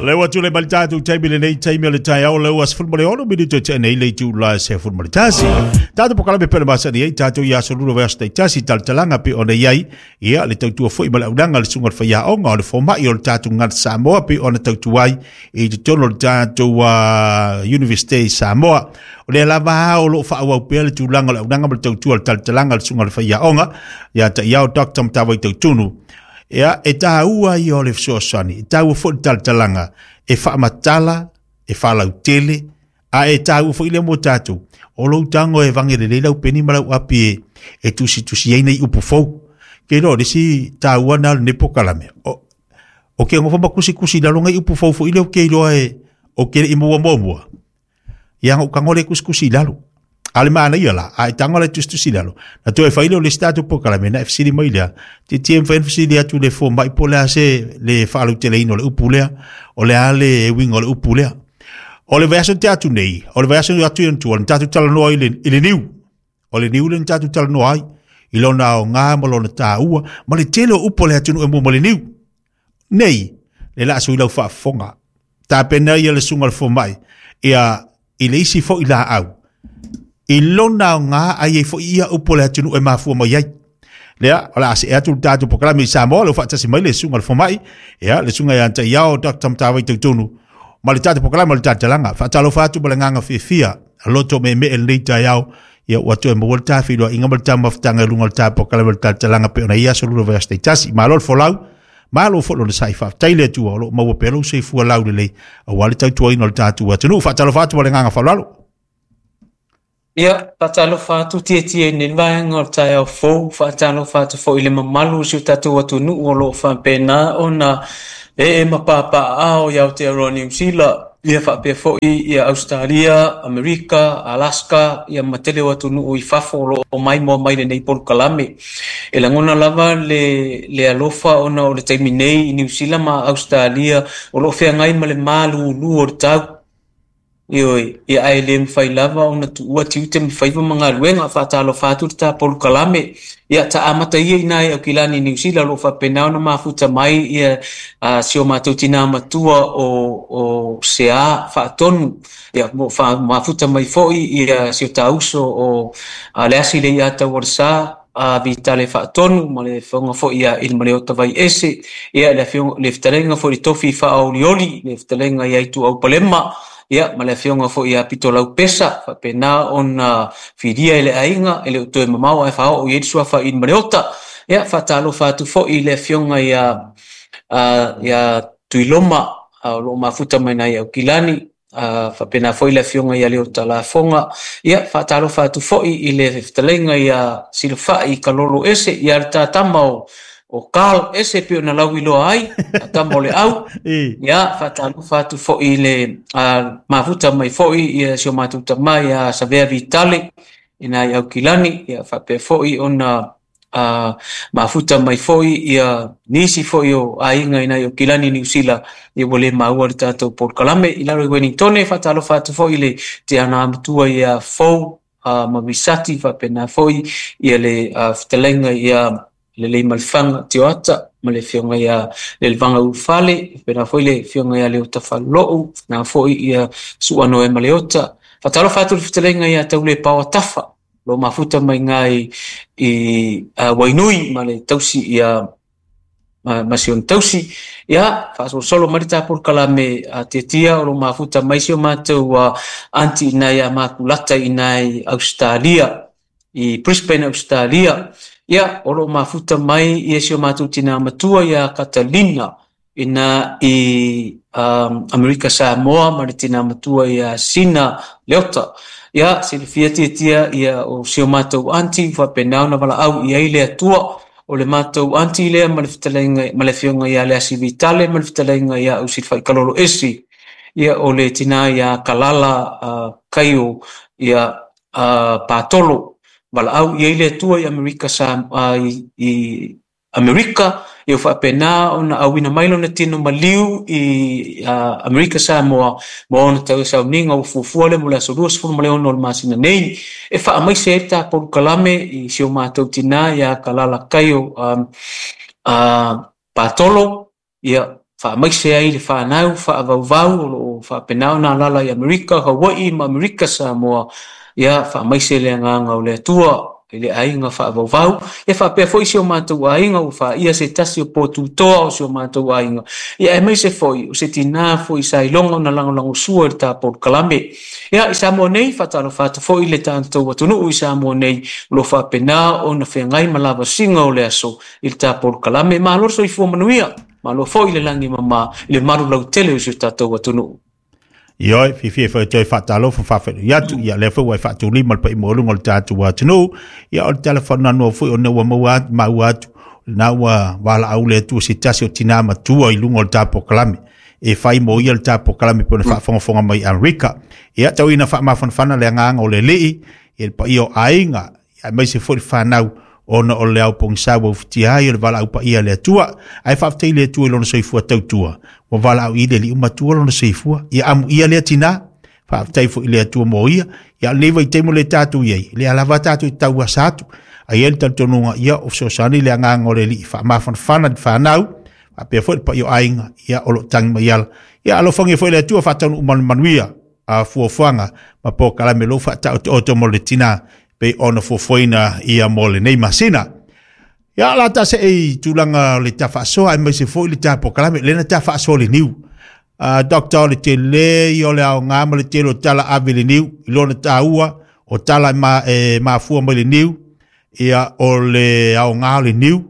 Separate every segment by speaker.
Speaker 1: Le ua tulai mai le tatou taimi lenei taimi o le taeao le ua 16 minute te nei le itula e 11. Tatou polokalame pele masani ai tatou i aso lua vaiaso taitasi talatalaga pei ona i ai ia le tautua foi ma le auaunaga a le susuga i le faiaoga o le fomai o le tatou gagana Samoa pei ona tautua ai i totonu o le tatou Universite i Samoa. O lea lava o lo o faaauau pea le tulaga o le auaunaga ma le tautua o le talatalaga a le susuga i le faiaoga ia Taiao Dr. Matavai Tautunu. Ia, e taua ia o le fesoasoani, e taua foi le talatalaga e faamatala, e faalautele, a e taua foi lea mo tatou. O lou tago e vage lelei lau peni ma lau api e tusitusi ai nei upu fou. Ke iloa o le isi taua na o lenei polokalame. O ke nofo ma tusitusi i lalo nai upu fou foi lea ou te iloa e o ke le i maua muamua. Ia na ou tago lea e tusitusi i lalo. A o le manaia la, a e tago la e tusitusi i lalo, na toe fai lea o le isi tatou polokalame, na e fesili mai lea, tietie mafai ona fesili atu i le fomai po o le a se le faalauteleina o le upu lea, o le a le uiga o le upu lea. O le vaiaso na tea atu nei, o le vaiaso atu i ona tua, na tatou talanoa i le niu. O le niu lea na tatou talanoa ai, i lona aoga ma lona taua, ma le tele o upu a le atunuu e mua ma le niu. Nei, le la sui lau faafofoga. Tapena ia le susuga i le fomai, ia i le isi foi laau, i lona aoga ai ai foi ia upu a le atunuu e mafua mai ai. Lea, o le a see atu le tatou polokalame i Samoa, le faatasi mai le susuga i le fomai, ia, le susuga ia Taiao Dr. Matavai Tautonu, ma le tatou polokalame o le talatalaga. Faatalofa atu ma le agaga fiafia, loto meemee lenei taeao, ia ua toe maua le ta feiloaiga ma le ta mafutaga i luga o le ta polokalame o le talatalaga pei ona i aso lua vaiaso taitasi. Malo le folau, malo foi lona sai, faafetai le Atua o lo o maua pea lou soifua laulelei aua le tautuaina o le tatou atunuu. Faatalofa atu ma le agaga faaaloalo.
Speaker 2: Ia, faatalofa atu Tietie i lenei vaega o le taeao fou, faatalofa atu foi i le mamalu o si o tatou atunuu o lo o faapena ona ee ma papaaao i Aotearoa Niu Sila, ia faapea foi ia Ausetalia, Amerika, Alaska, ia ma tele o atunuu i fafo o lo o maimoa mai lenei polokalame. E lagona lava le alofa ona o le taimi nei i Niu Sila ma Ausetalia o lo o feagai ma le malulu o le tau. Ioe, ia ae le mafai lava ona tuua tiute ma faiva ma galuega, faatalofa atu le ta polokalame. Ia ta amata ia ina i Aukilani i Niu Sila o lo o faapena ona mafuta mai ia si o matou tinā matua o Sea Faatonu. Ia o mafuta mai foi ia si o ta uso o Leasi Leiataualesa a Vitale Faatonu ma le afioga foi ia Ilimaleota Vaiese, ia le afioga le fetalaiga foi i le tofi faaolioli, le fetalaiga ia Ituau Palema, ia ma le afioga foi ia Pitolau Pesa, faapena ona filia e le aiga e le o toe mamao ae faaoo i ai le suafa Ilimaleota. Ia faatalofa atu foi i le afioga ia Tuiloma o lo o mafuta mai nai Aukilani, faapena foi le afioga ia Leota Lafoga. Ia faatalofa atu foi i le fetalaiga ia Silafai Kalolo Ese, ia le tatama o Carl Ese pei ona lauiloa ai, tama o le au. Ia faatalofa atu foi i le mafuta mai foi ia si o matou tama ia Savea Vitale ina i Aukilani, ia faapea foi ona mafuta mai foi ia nisi foi o aiga ina i Aukilani Niu Sila, ia ua le maua le tatou polokalame. I lalo i Wellingtone, faatalofa atu foi i le tiana matua ia Fou ma Visati, faapena foi ia le fetalaiga ia Lelei Malifaga Tioata ma le afioga ia Lelevaga Ulufale, faapena foi le afioga ia Leota Falelou, faapena foi ia Su'a Noema Leota. Faatalofa atu i le fetalaiga ia Taulepaoa Tafa, lo mafuta mai ngai i Wainui ma le tausi ia ma si ona tausi. Ia, faasolosolo mai le ta polokalame a Tietia o lo mafuta mai si o matou aunty ina ia Makulata ina i Ausetalia, i Brisbane, Ausetalia. Ia, o lo mafuta mai ia si o matou tina matua ia Katalina ina i Amerika Samoa ma le tina matua ia Sina Leota. Ia, silafia Tietia ia o si o matou aunty faapena ona valaau i ai le Atua. O le matou aunty lea ma le fetalaiga ma le afioga ia Leasi Vitale ma le fetalaiga ia Ausilafai Kalolo Esi. Ia, o le tina ia Kalala Kaio ia Patolo. Valaau i ai le Atua i Amerika Samoa i Amerika, ia faapena ona auina mai lona tino maliu i Amerika Samoa ma ona tau sauniga ua fuafua lea mo le aso 26 o le masina nei e faamaise ai le ta polokalame i si o matou tina ia Kalala Kaio Patolo. Ia Faamaise ai le fanau faavauvau o lo o faapena ona alaala i Amerika, Hawaii ma Amerika Samoa. Ia faamaise le agaga o le Atua i le aiga faavauvau. Ia faapea foi si o matou aiga ua faia se tasi o potutoa o si o matou aiga. Ia aemaise foi o se tinā foi sa iloga ona lagolagosua i le ta polokalame. Ia i Samoa nei, faatalofa atu foi i le tatou atunuu i Samoa nei o lo o faapena ona feagai ma lavasiga o le aso i le ta polokalame. Malo le soifua manuia, malo foi le lagi e mama i le malu lautele o si o tatou atunuu.
Speaker 1: Ioe, fiafia foi e toe faatalofa faafeiloai atu, ia lea foi ua e faatulima le paia maualuga o le tatou atunuu. Ia o le tala faanoanoa foi ona ua maua atu, maua atu, lena ua valaau le Atua se tasi o tina matua i luga o le ta polokalame e fai mo ia le ta polokalame pe ona faafogafoga mai i Amerika. Ia tau ina faamafanafana le agaga o le Alii i le paia o aiga, aemaise foi le fanau ona o le ao pogisa ua ufitia ai o le valaau paia a le Atua. Ae faafetai i le Atua i lona soifua tautua, ua valaau i le Alii matua lona soifua. Ia amuia lea tina, faafetai foi i le Atua mo ia. Ia o lenei vaitaimi o le tatou i ai, lea lava tatou te tauasa atu. Ae i ai le talitonuga, ia o fesoasoani le agaga o le Alii faamafanafana i le fanau, faapea foi le paia o aiga, ia o lo o tagi mai ala. Ia alofagia foi le Atua faataunuu ma le manuia a fuafuaga ma polokalame o lo o faataotooto mo le tina pei ona fuafuaina ia mo lenei masina. Ia la ta se i tulaga o le ta faasoa aemaise foi le ta polokalame, lena ta faasoa le niu. Doctor, le tele ia o le aoga ma le tele o tala ave le niu, i lona taua o tala e mafua mai le niu, ia o le aoga o le niu,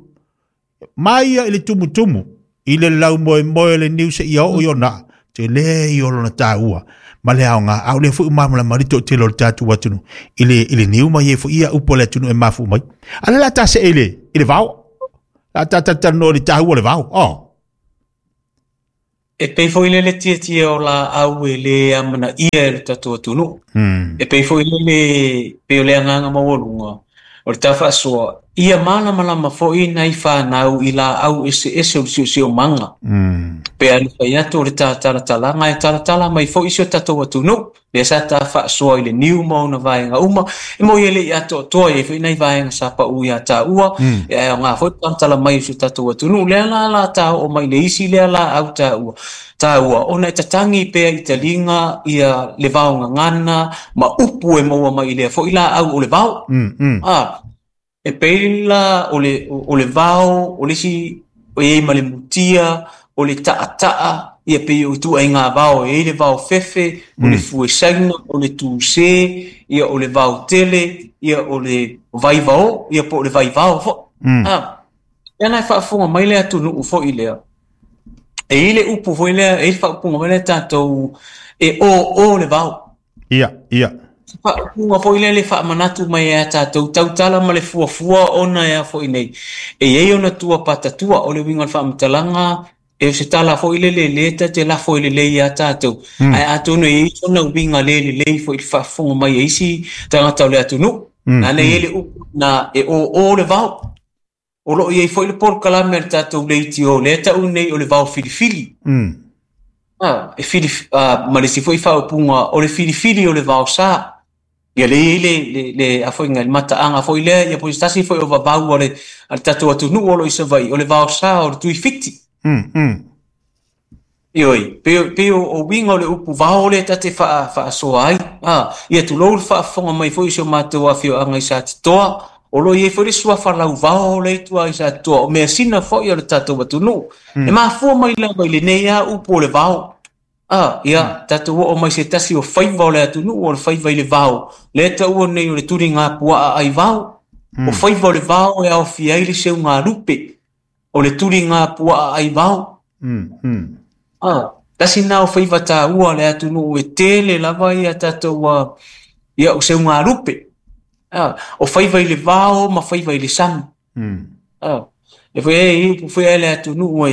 Speaker 1: mai ia i le tumutumu, i le laumoemoe o le niu seia oo i ona aa, tele ia o lona taua ma le aoga, a o lea foi ua malamalama le toatele o le tatou atunuu i le niu ma i ai foi ia upu a le atunuu e mafua mai. A o le a ta see i le vao, la ta talatalanoa i le taua o le vao. Oh.
Speaker 2: E pei foi lele tietie o laau e le amanaia e le tatou atunuu. E pei foi lele, pei o le agaga maualuga o le ta faasoa, ia malamalama foi nai fanau i laau eseese o le siosiomaga. Pe a na fai atu o le ta talatalaga e talatala mai foi si o tatou atunuu, lea sa ta faasoa i le niu ma ona vaega uma, e moi e le i atoatoa, e i ai foi nai vaega sa pau ia taua, e aoga foi le talatala mai o si o tatou atunuu. Lea la la ta oo mai le isi lea laau taua, taua, ona e tatagi pea i taliga ia le vao gagana ma upu e maua mai i lea foi laau o le vao. E pei la o le, o le vao, o le isi e i ai ma le mutia, o le taʻataʻa, ia pei o ituaiga vao e i ai le vao fefe, o le fue saina, o le tuse, ia o le vao tele, ia o le vaivao, ia po o le vaivao foi. Ia la e faafofoga mai le atunuu foi lea, e i ai le upu foi lea, e i ai le faaupuga foi lea tatou e o le vao.
Speaker 1: Ia, ia.
Speaker 2: Faaupuga foi lea le faamanatu mai ia tatou tautala ma le fuafua ona e a foi nei. E i ai ona tua patatua, o le uiga o le faamatalaga, e o se tala foi lele lea ta te lafo i lelei ia tatou. Ae atonu e i ai sona uiga le lelei foi i le faafofoga mai a isi tagata o le atunuu. Lana e i ai le upu na e o le vao. O lo o i ai foi le polokalame a le tatou leitio lea e tau nei o le vao filifili. E fili, ma le isi foi faaupuga o le filifili o le vao sa. Ia lea e i ai le, le, a foi, le mataaga foi lea, ia po o se tasi foi o vavau a le tatou atunuu o lo o i Savaii, o le vao sa o le tuifiti. Ioe, pei o uiga o le upu vao lea ta te faasoa ai. Ia tulou le faafofoga mai foi o si o matou afioaga i Satitoa, o lo o i ai foi le suafa lauvao lea i tua i Satitoa, o measina foi a le tatou atunuu. E mafua mai lava i lenei lava upu o le vao. Ia, tatou oo mai se tasi o faiva o le atunuu, o le faiva i le vao, lea e taua nei o le tuligapuaa ai vao. O faiva o le vao e aofia ai le seugalupe, o le tuligapuaa ai vao. Tasi na o faiva taua le atunuu e tele lava ia tatou ia o seugalupe. O faiva i le vao ma faiva i le sami. E foi e foi e le atunuu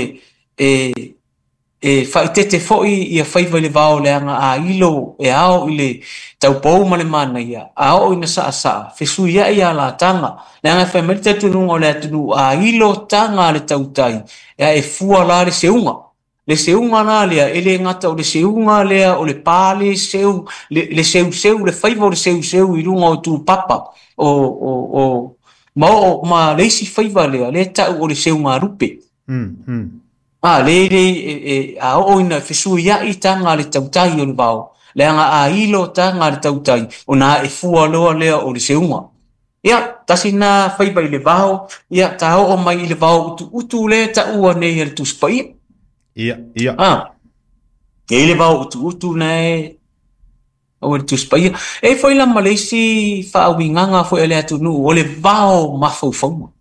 Speaker 2: e faaeteete foi ia faiva i le vao leaga a ilo e ao i le taupou ma le manaia, a oo ina saasaa, fesuiai ia lataga. Leaga e fai mai le talitonuga o le atunuu, a ilo taga a le tautai, e fua la le seuga. Le seuga la lea, e le gata o le seuga lea o le pa le seu, le seuseu, le faiva o le seuseu i luga o tupapa, o ma oo ma le isi faiva lea, lea tau o le seugalupe. A, le, le, e, e, a oo ina fesuia'i taga a le tautai o le vao, leaga a ilo taga a le tautai, ona a'e fua loa lea o le seuga. Ia, tasi lena faiva i le vao, ia, ta oo mai i le vao utuutu lea e taua nei e le Tusi Paia.
Speaker 1: Ia, ia.
Speaker 2: A, e i ai le vao utuutu na e taua e le Tusi Paia. E i ai foi la ma le isi faauigaga foi a le atunuu, o le vao mafaufauga.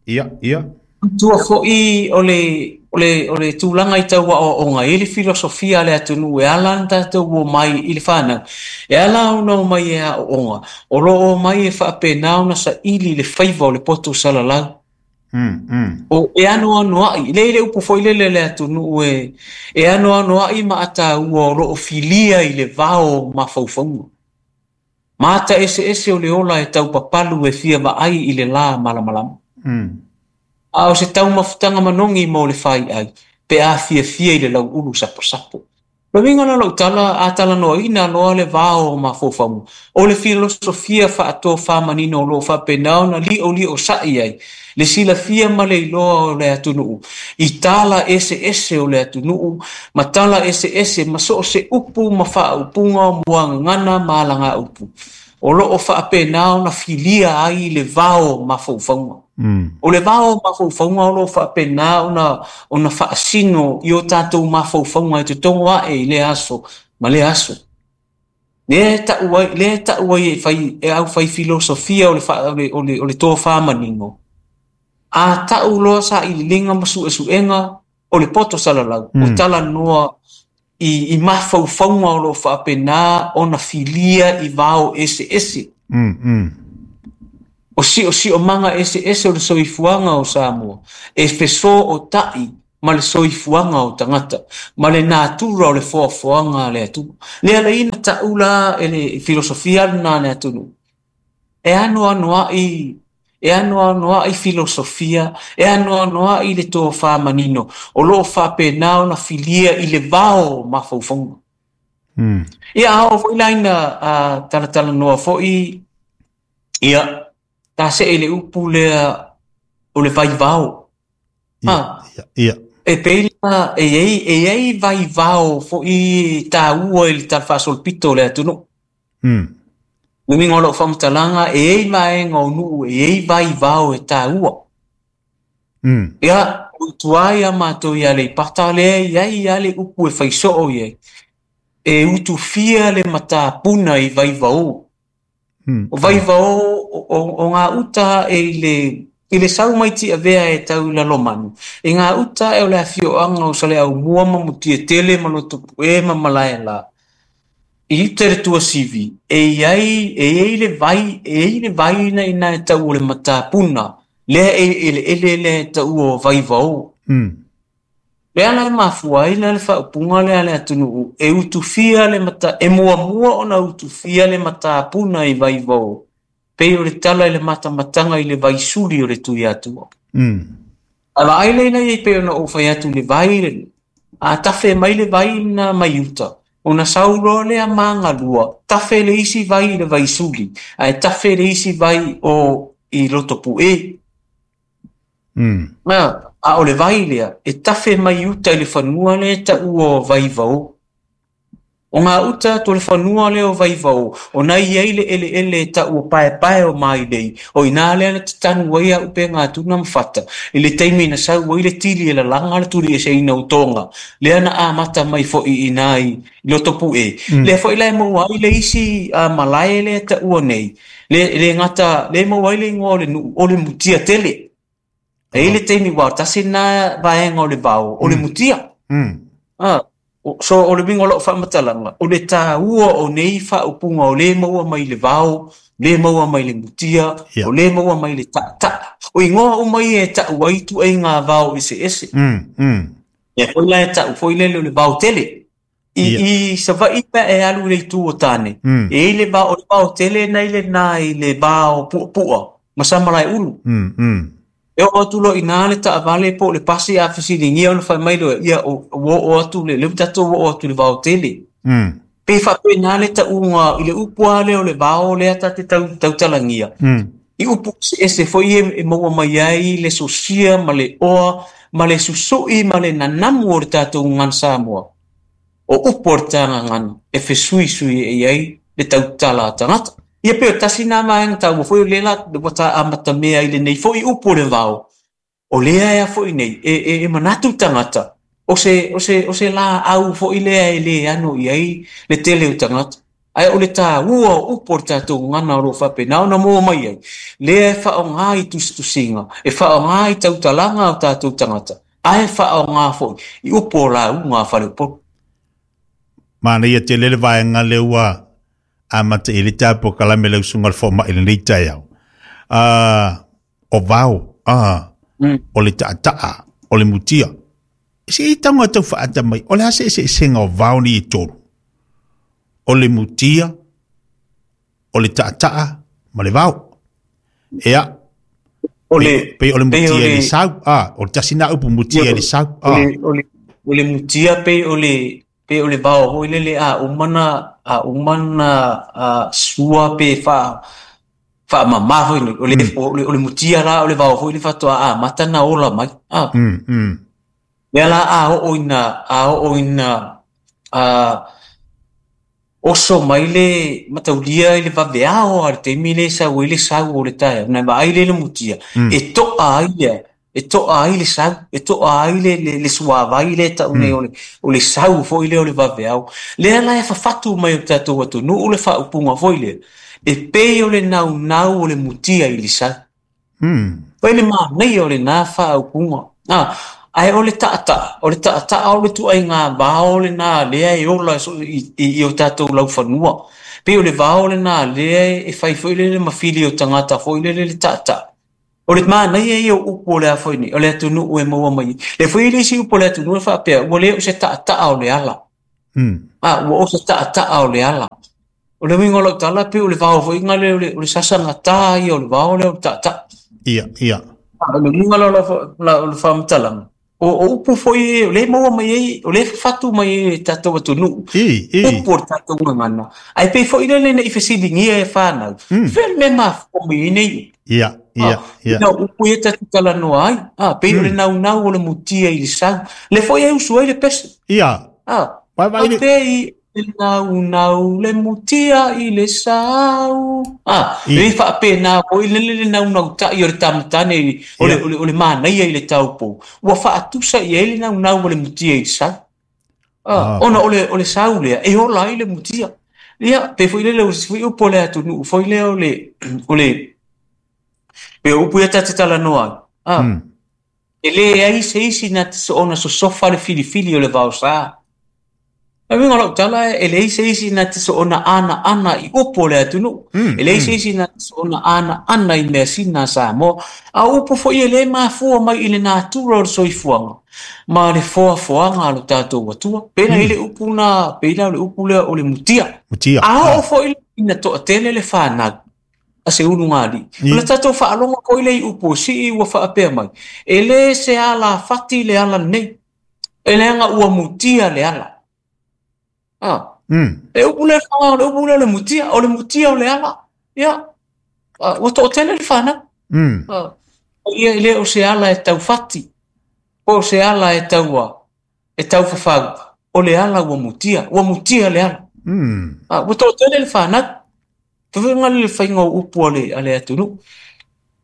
Speaker 1: Ia, ia.
Speaker 2: Tua foi o le, o le, o le tulaga i tau aoaoga, e i ai le filosofia a le atunuu e ala ona tatou omai i le fanau, e ala ona omai e aooga, o lo o omai e faapena ona saili le faiva o le poto salalau. O, e anoanoai, le i le upu foi lele a le atunuu e, e anoanoai maataua o lo o filia i le vao o mafaufauga. Mata eseese o le ola e taupapalu e fia vaai i le lā malamalama. A o se taumafataga manogi mo le faiai pe a fiafia i le lauulu saposapo. O le uiga la o lau tala, a talanoaina loa le vao o mafaufauga, o le filosofia faatofamanino o lo o faapena ona li'oli'osa'i ai le silafia ma le iloa o le atunuu i tala eseese o le atunuu ma tala eseese ma so o se upu ma faaupuga o muagagana ma alagaupu o lo o faapena ona filia ai le vao o mafaufauga. O le vao o mafaufauga o lo o faapena ona ona faasino i o tatou mafaufauga e totogo ae i lea aso ma lea aso. Lea e tau ai, lea e tau ai e fai e aufai filosofia o le o le o le o le tofa manino, a tau loa sailiiliga ma suesuega o le poto salalau, o talanoa i, i mafaufauga o lo o faapena ona filia i vao eseese. O siosiomaga eseese o le soifuaga o Samoa e fesootai ma le soifuaga o tagata ma le natura o le foafoaga a le Atua. Le ala ina tau la e le filosofia lena a le atunuu, e anoanoai e anoanoai filosofia, e anoanoai le tofa manino o lo o faapena ona filia i le vao o mafaufauga. Ia, a oo foi la ina talatalanoa foi, ia, ta see i le upu lea o le vaivao.
Speaker 1: Ia, ia, ia.
Speaker 2: E pei la e i ai, e i ai vaivao foi taua i le talafaasolopito o le atunuu. Le uiga o lau faamatalaga, e i ai vaega o nuu e i ai vaivao e taua. Ia, o tua ia matou i Aleipata lea e i ai lava le upu e fai soo i ai, e utufia le matapuna i vaivao. O vaivao o gauta ae i le i le sau mai Tiavea e tau i Lalomanu, i gauta ae o le afioaga o Saleaaumua ma Mutiatele ma Lotopue ma Malaela, i uta i le tuasivi, e i ai e i ai le vai, e i ai le vai na ina e tau o le matapuna, lea e eleele lea e taua o Vaivao. Le ala e mafua ai la le faaupuga lea a le atunuu, e utufia le mata, e muamua ona utufia le matapuna i Vaivao, pei o le tala i le matamataga i le vaisuli o le Tuiatua. A vaai lea ina ia pei ona ou fai atu i le vai lenei, a tafe mai le vai lena mai uta, ona sau loa lea magalua, tafe le isi vai i le vaisuli, ae tafe le isi vai o i Lotopue. A o le vai lea, e tafe mai uta i le fanua lea e taua o Vaivao. O gauta atu o le fanua lea o Vaivao, ona e i ai le eleele e tau o Paepae o Mailei, o i ina lea na tatanu ai auupega tuna ma fata, i le taimi na sau ai le tili e lalaga le tulieseina o Toga, lea na amata mai foi i ina i Lotopue. Lea foi la e maua ai le isi malae lea e taua nei, le, le gata, lea e maua ai le igoa o le nuu, o le Mutia Tele. E i ai le taimi, ua tasi lena vaega o le vao, o le mutia. So, o le uiga o lau faamatalaga, o le taua o nei faaupuga o lē maua mai le vao, lē maua mai le mutia, o lē maua mai le ta'ata'a. O igoa uma ia e ta'u ai ituaiga vao eseese. Lea foi la e ta'u foi lele o le vao tele. I, i Savaii pe a e alu i le itu o Tane, e i ai le vao, o le vao tele na i lenā i le va o Puapua ma Samalaeulu. E oo atu loa i ina le taavale po o le pasi a fesiligia ona fai mai loa, ia, ua oo atu le, lea ua tatou oo atu i le vao tele. Pe faapena le tauga i le upu lava lea o le vao lea ta te tau, tautalagia. I upu eseese foi ia e maua mai ai le sosia ma le oa ma le susui ma le nanamu o le tatou gagana Samoa. O upu o le ta gagana e fesuisuiai ai le tautala a tagata. Ia pei o tasi lena vaega taua foi o lea la ua ta amatamea ai i lenei foi upu o le vao, o lea ea foi nei e manatu tagata o se, o se, o se laau foi lea e le ano i ai le tele o tagata. Ae o le taua o upu o le tatou gagana o lo o faapena ona maua mai ai, lea e faaaoga i tusitusiga, e faaaoga i tautalaga a o tatou tagata, ae faaaoga foi i upu o lauga a faleupolu.
Speaker 1: Manaia tele le vaega lea ua amata i ai le tatou polokalame le usuga o le fomai i lenei taeao. O vao, o le taataa, o le mutia. Se i tago tau faaata mai, o le a se eseesega o vao nei e tolu? O le mutia, o le taataa ma le vao. Ea,
Speaker 2: O le,
Speaker 1: pei o le
Speaker 2: pei o
Speaker 1: mutia i
Speaker 2: le,
Speaker 1: le sau, o le tasi na upu mutia i le sau,
Speaker 2: o le, o le, o le mutia pei o le, pei o le vao foi lele a uma na, a uma na sua pe faamama foi nei. O le, o le mutia la, o le vao foi le faatoa amata na ola mai. Lea la a oo ina, a oo ina, oso mai le mataulia i le vaveao a le taimi le sau ai le sau o le taeao, na vaai le le mutia, e to'a ai lea, e to'a ai le sau, e to'a ai le suavai le tau nei o le sau foi lea o le vaveao. Lea la e fafatu mai o tatou atunuu le faaupuga foi lea, e pei o le naunau o le mutia i le sau. Pei le manaia o lena faaupuga. Ae o le taataa, o le taataa o le tuaiga vao lena lea e ola i o tatou laufanua. Pei o le vao lena lea e fai foi lele ma fili o tagata foi lele le taataa. O le manaia ia o upu o le a foi nei, o le atunuu e maua mai. Le foi le isi upu o le atunuu e faapea, ua le o se taataa o le ala. Ua o se taataa o le ala. O le uiga o lau tala pei o le vao foi nga le o le sasagata ia o le vao lea o le taataa.
Speaker 1: Ia, ia.
Speaker 2: O le uiga la o le faamatalaga. O upu foi o le maua mai ai, o le fafatu mai ai e tatou atunuu. Upu o le tatou gagana. Ae pei foi lele nei fesiligia e whanau. Fea le mea mafua mai ai nei.
Speaker 1: Ia, ia, ia.
Speaker 2: Ina upu ia tatou talanoa ai. Pei o le naunau o le mutia i le sau. Le foi e usu ai le pese.
Speaker 1: Ia. Vai, vai, le-
Speaker 2: Pei le naunau le mutia i le sau. Le faapena foi le le naunau tai o le tamatane i, o le, o le, o le manaia i le taupou. Ua faatusa i ai le naunau o le mutia i le sau. Ona o le sau lea, e ola ai le mutia. Ia, pe foi lele o se foi upu o le atunuu, foi lea o le, o le, pe upu ia tate talanoa ai. E le ai se isi na te soona sosofa le filifili o le vaosa. E uiga o lau tala, e leai se isi na te soona ana ana i upu o le atunuu. E leai se isi na te soona ana ana i measina a Samoa. A upu foi e le mafua mai i le natura o le soifuaga ma le foafoaga a lo tatou Atua. Pei i le upu na, pei la o le upu lea o le mutia.
Speaker 1: Mutia.
Speaker 2: A oo foi ina toatele le whanau a se ulugalii. O le tatou faalogo foi le i upu o sii ua faapea mai. E le se ala fati le ala nei. E leaga ua mutia le ala. E upu le wha, o le upu le o le mutia, o le mutia o le ala. Ia, ua toatele le whanau. Ia e le o se ala e taufati, po o se ala e taua, e taufafau, o le ala ua mutia, ua mutia le ala. Ua toatele le whanau. Fefenga le whainga o upu a le atunuu.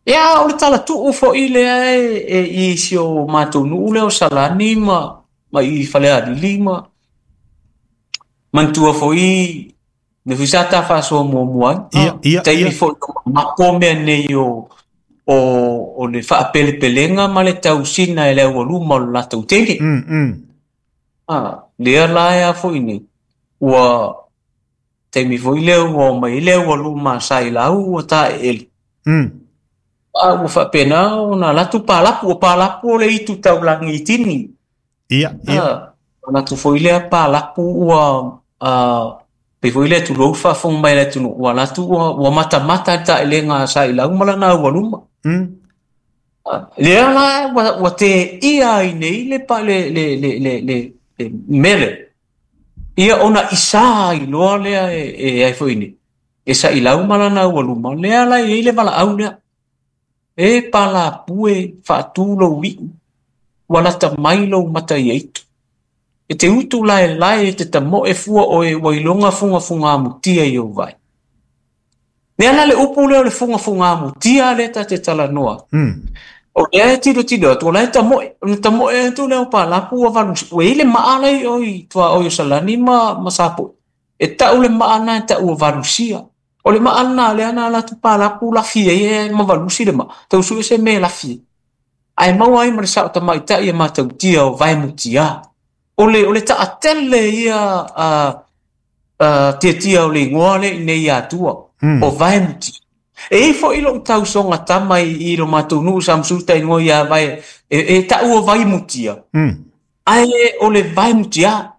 Speaker 2: Ia, o le tala tuu foi lea e i si o mātou nuu lea o Salani ma i Falealili ma mantua foi le foi sa ta faasoa muamua ai.
Speaker 1: Ia, ia,
Speaker 2: Taimi
Speaker 1: ia.
Speaker 2: foi o mako mea nei o le faapelepelega ma le tausina e le aualuma o le latou tele. Lea la ea foi nei, ua taimi foi lea ua omai le aualuma sa i lau ua taeele. Ua faapena ona latou palapu, o palapu o le itu taulagi i tini.
Speaker 1: Ia, ia.
Speaker 2: Latou foi lea palapu ua, pei foi lea tulou faafofoga mai le atunuu, ua latou ua matamata le taelega sa i lau ma lana aualuma. Lea la ua teia ai nei le pa, le, le, le, le, le, le mele. Ia ona isa ai loa lea e ai foi nei. E sa i lau ma lana aualuma, lea la e i ai le valaau lea. E palapu e faatu lou iu, ua lata mai lou mata i aitu. E te utu lae lae e te tamoe fua oe ua iloga fugafuga mutia i ou vai. Le ala le upu lea o le fugafuga mutia lea ta te talanoa. O lea e tilotilo atu, o la e tamoe, ona tamoe atu lea o palapu ua valu, ua i le maa lai o i tua o i o Salani ma Sapoe. E tau le maa na e tau o valusia. O le maa na lea na ala atu palapu lafi ai e ma valusi le maa. Tau sue se me lafi. Ae maua ai ma le sao tamaitai e matautia o vaemutia. O le taatele ia tiatia o le ingoa le i nei atua. O vaemutia. E i fo ilo tausoga tama i lo matou nuu sa msuta ingoa ia vai e tau o vaimutia. Ae o le vaemutia.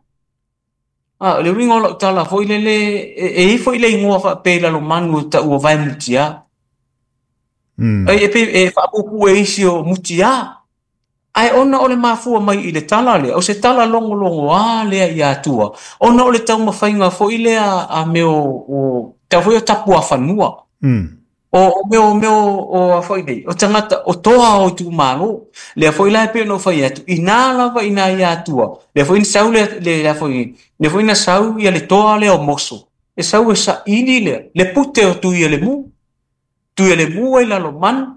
Speaker 2: A le uiga o lau tala foi lele e i foi le ingoa faapea i lalomanu e tau o vaemutia. E pe e faapuupuu e isi o mutia. Ae ona o le mafua mai i le tala lea, o se tala logologoa lea i atua, ona o le taumafaiga foi lea a mea o tau foi o tapuafanua. O mea o foi nei, o tagata o toa o itumalo. Lea foi la e pei ona ou fai atu, ina lava ina i atua. Lea foi na sau le foi, lea foi na sau ia le toa lea o moso. E sau e saili lea, le pute o tui le mu. Tui le mu ai lalomanu,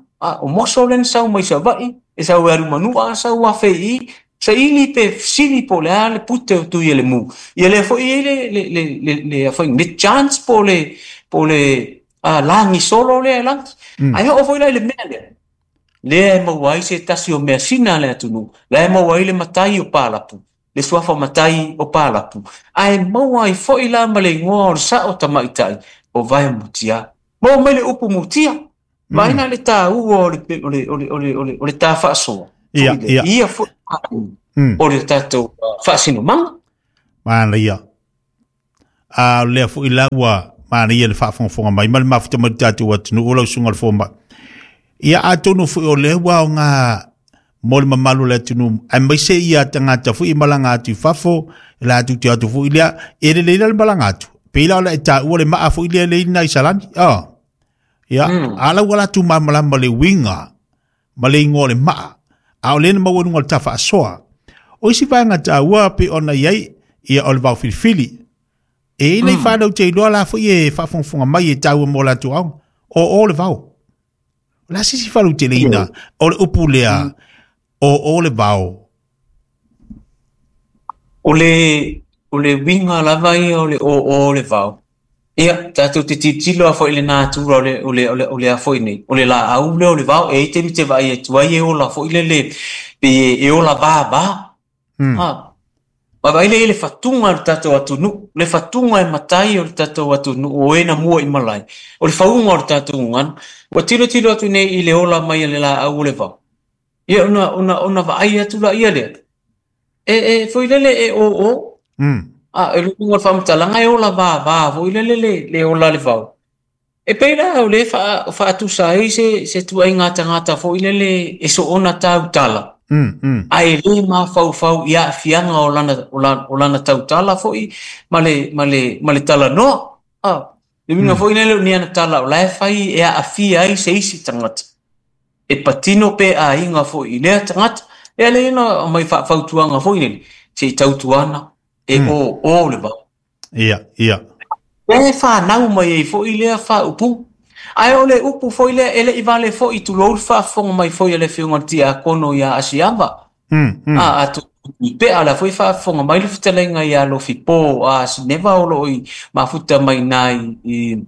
Speaker 2: o moso le na sau mai Savaii, e sau e alu a sau a fei, saili pe sili po le a le pute o tui le mu. Ia lea foi i le foi le chance po le langi solo lea e langi. Ai o foi la le mea lea. Lea e maua ai se tasi o mea sina le atunuu. Lea e maua ai le matai o Palapu. Le suafa matai o Palapu. Ae maua ai foi la ma le ingoa o le sao tamaitai o vaemutia. Maua mai le upu mutia. Vaina le tāua o le tā faasoa.
Speaker 1: Ia.
Speaker 2: Ia foi o le tātou faasinomaga.
Speaker 1: Mana ia. A lea foi la ua mana ia le faafogafoga mai ma le mafuta mai le tatou atunuu o lau susuga le fomai. Ia atonu foi o lea ua aoga mo le mamalu o le atunuu aemaise ia tagata foi i malaga atu i fafo, e latou te atu foi lea, e lelei la le malaga atu. Pei la o le e taua le maa foi lea le ina i Salani. Ia, ala ua latou malamalama le uiga ma le ingoa o le maa. A o lea na maua i luga o le tafaasoa. O isi vaega taua pe ona i ai, ia o le vao filifili. E i nei whanau te iloa la foi e faafogafoga mai e taua mo latou aoga. O le vao. O la sisi whanau te leina, o le upu lea, o le vao.
Speaker 2: O le uiga lava ia o le o le vao. Ia, tātou te tilotilo a foi le natura o le a foi nei. O le laau lea o le vao, e i te mite vaai atu ai e ola foi lele, pe e ola vava. Ma vai le le fatuga o le tātou atunuu, le fatuga e matai o le tātou atunuu, o e na mua i malai. O le fauga o le tātou gagana, ua tilotilo atu nei i le ola mai a le laau o le vao. Ia, ona vaai atu la ia lea. E foi lele e o. A e luga o le faamatalaga e ola vava foi lele le ola le vao. E pei la o le faatusa ai se tuaiga tagata foi lele e soona tautala. Ae le mafaufau i aafiaga o lana tautala foi ma le talanoa. Le uiga foi lele o ni ana tala o la e fai e aafia ai se isi tagata. E patino pe aiga foi i lea tagata. E ale ina mai faafautuaga foi lele se i tautuana e o le vao.
Speaker 1: Ia.
Speaker 2: E whanau mai ei foi lea whaupu. Ae o le upu foi lea ele i vale foi tulou le faafofoga mai foi a le afioga i le tiakono ia Asiava. A atu i pea la foi faafofoga mai le fetalaiga ia Lofipo a Sineva o loo i mafuta mai nai i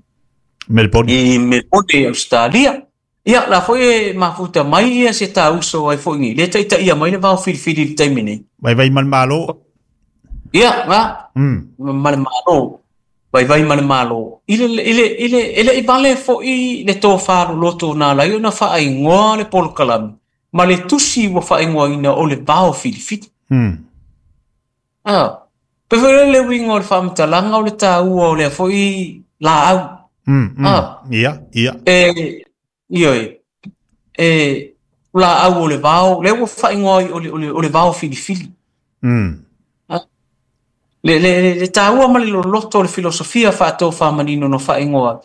Speaker 1: Melbourne.
Speaker 2: I Melbourne, Australia. Ia la foi e mafuta mai ia se tauso ai foi ni le taitaia mai le vao filifili i le taimi nei.
Speaker 1: Vai vai ma le malo.
Speaker 2: Ia, nga. Ma le malo. Vai vai ma le malo. I le i vale foi le tō loto nā lai o na whaingoa le polokalame. Ma le tusi ua whaingoa ina o le vao filifili. Pe foi le uiga o le faamatalaga o le tāua o lea foi laau.
Speaker 1: Ia.
Speaker 2: E, ioe. E, laau o le vao, lea ua whaingoa o le vao filifili. Le tāua ma le loloto o le filosofia whaatō whamanino no whaingoa.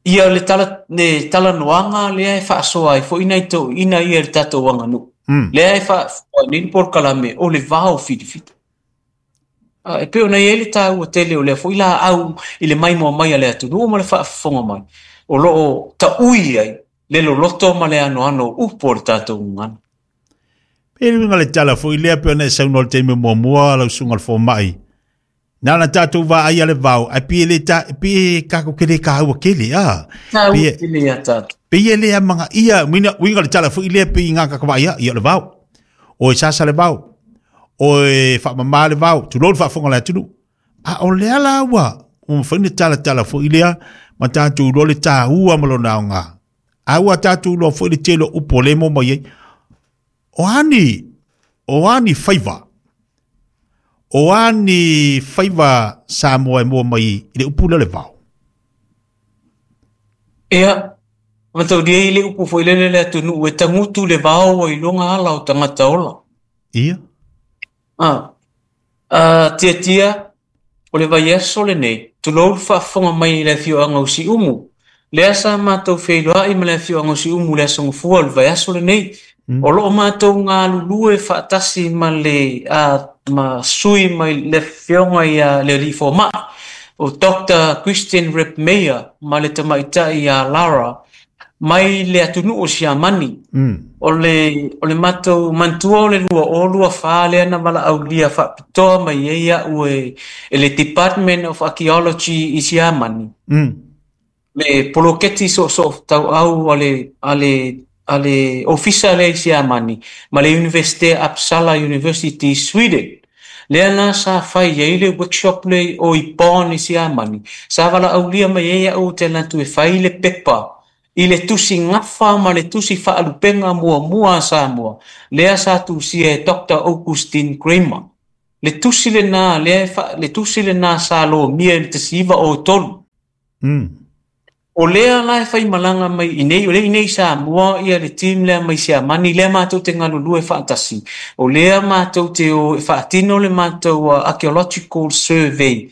Speaker 2: Ia le tala le talanoaga lea e faasoa ai foi nai toeaiina ia i le tatou aganuu. Lea e faasoa ai nei le polokalame o le vao filifili. E pei ona i ai le taua tele o lea foi laau i le maimoa mai a le atunuu ma le faafofoga mai, o lo o taui ai le loloto ma le anoano o upu o le tatou gagana.
Speaker 1: Pei le uiga o le tala foi lea pei ona e saunoa i le taimi muamua lau susuga i le fomai, Na ona tatou vaai a le vao, ae pei e le ta, pei e tatou te le taua tele, a.
Speaker 2: Taua Pei e- tele ia tatou.
Speaker 1: Pei e le amanaia, uiga, uiga o le tala foi lea pei i gā tatou vaai a, ia o le vao. O e sasa le vao, o e faamama le vao, tulou le faafofoga a le atunuu. A o lea la ua, ua mafai ona talatala foi lea ma tatou iloa le taua ma lona aoga. A ua tatou iloa foi le tele o upu o lea e maua mai ai. O a ni, o a ni faiva, o a ni faiva Samoa e maua mai i le upu lea o le vao?
Speaker 2: Ia, mataulia i le upu foi lele le atunuu e tagutu le vao ua iloga ala o tagata ola.
Speaker 1: Ia.
Speaker 2: Ah, Tiatia, o le vaiaso lenei, tulou le faafofoga mai i le afioaga o Siumu. Lea sa matou feiloai ma le afioaga o Siumu i le Aso Gafua o le vaiaso lenei. O lo o matou galulue faatasi ma le ma sui mai le afioga ia le alii fomai o Doctor Christian Rebmeyer ma le tamaitai ia Lara mai le atunuu o Siamani. O le, o le matou manatua o le 2024 lea na valaaulia faapitoa mai ai au e, e le Department of Archaeology i Siamani. Le poloketi soosoo tauau a le, a le, a le ofisa lea i Siamani ma le Iunivesite Uppsala University i Sweden. Lea la sa fai ai le workshop lea o i Bonn i Siamani, sa valaaulia mai ai au ou te alu atu e fai le pepa i le tusi gafa ma le tusi faalupega muamua a Samoa, lea sa tusia e Doctor Augustin Kramer. Le tusi lena lea e fa, le tusi lena sa lomia i le 1903. O lea la e faimalaga mai i inei, o lea i inei i Samoa ia le team lea mai Siamani, lea matou te galulue faatasi. O lea matou te o e faatino le matou archaeological survey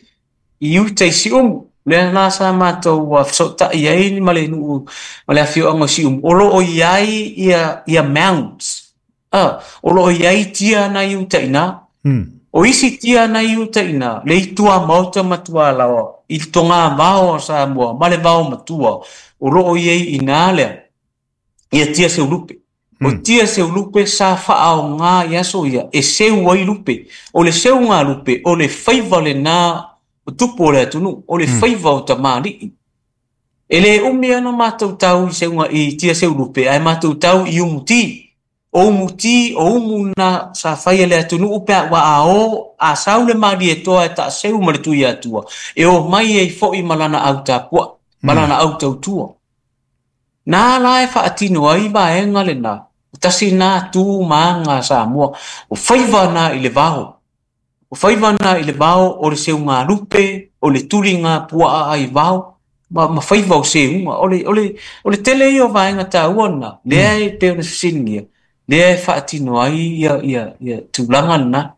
Speaker 2: i uta i Siumu. Lea la sa matou fesootai ai ma le nuu ma le afioaga o Siumu, o lo o i ai ia, ia mounds. O lo o i ai tia na i uta i ina. O isi tia na i uta i ina, le i tuamaota ma tualaoa, i le togavao a Samoa ma le vao matua, o lo o i ai i ina lea, ia tia seulupe. O tia seulupe sa faaoga i aso ia e seu ai lupe. O le seuga lupe, o le faiva lena o tupu o le atunuu, o le faiva o tamalii. E le umi ana matou tau i seuga i tia seulupe, ae matou tau i umuti. O umuti, o umu na sa fai e le atunuu pe a ua a o, a sau le Malietoa e taaseu ma le Tuiatua, e omai ai foi ma lana au tapuai, ma lana au tautua. Na la e faatino ai vaega lena, o tasi na tu ma aga a Samoa, o faiva na i le vao. O faiva na i le vao o le seugalupe, o le tuliga puaa ai vao, ma, ma faiva o seuga. O le, o le, o le tele ia o vaega taua lena, lea e pei ona fesiligia, lea e faatino ai ia, ia, ia tulaga lena.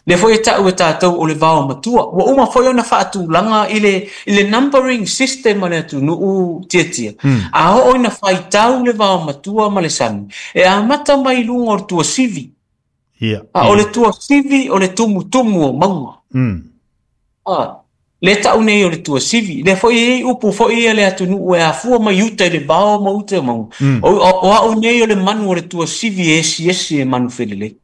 Speaker 2: Lea foi e tau e tatou o le vao matua. Ua uma foi ona faatulaga i le, i le numbering system a le atunuu Tiatia. A oo ina faitau le vao matua ma le sami, e amata mai i luga o le tuasivi.
Speaker 1: Ia.
Speaker 2: A o le tuasivi o le tumutumu o mauga. A, le tau nei o le tuasivi. Lea foi e i ai upu foi ia le atunuu e afua mai uta i le vao ma uta i mauga. O, o au nei o le manu o le tuasivi e esiesi e manu felelei.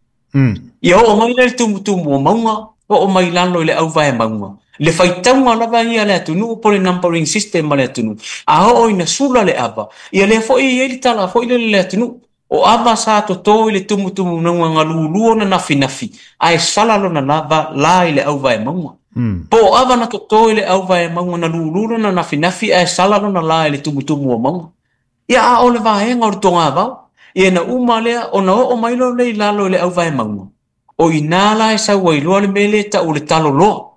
Speaker 2: Ia oo mai lea i le tumutumu o mauga, oo mai lalo i le auvae mauga. Le faitauga lava ia a le atunuu po o le numbering system a le atunuu. A oo ina sula le ava, ia lea foi e i ai le tala foi lele i le atunuu. O ava sa toto i le tumutumu mauga lulu ona nafinafi, ae sala lona lava la i le auvae mauga. Po o ava na toto i le auvae mauga na lulu lona nafinafi ae sala lona la i le tumutumu o mauga. Ia a o le vaega o le togavao, ia na uma lea ona oo mai loa lea i lalo i le auvae mauga. O i ina la e sau ai loa le mea lea e tau o le taloloa.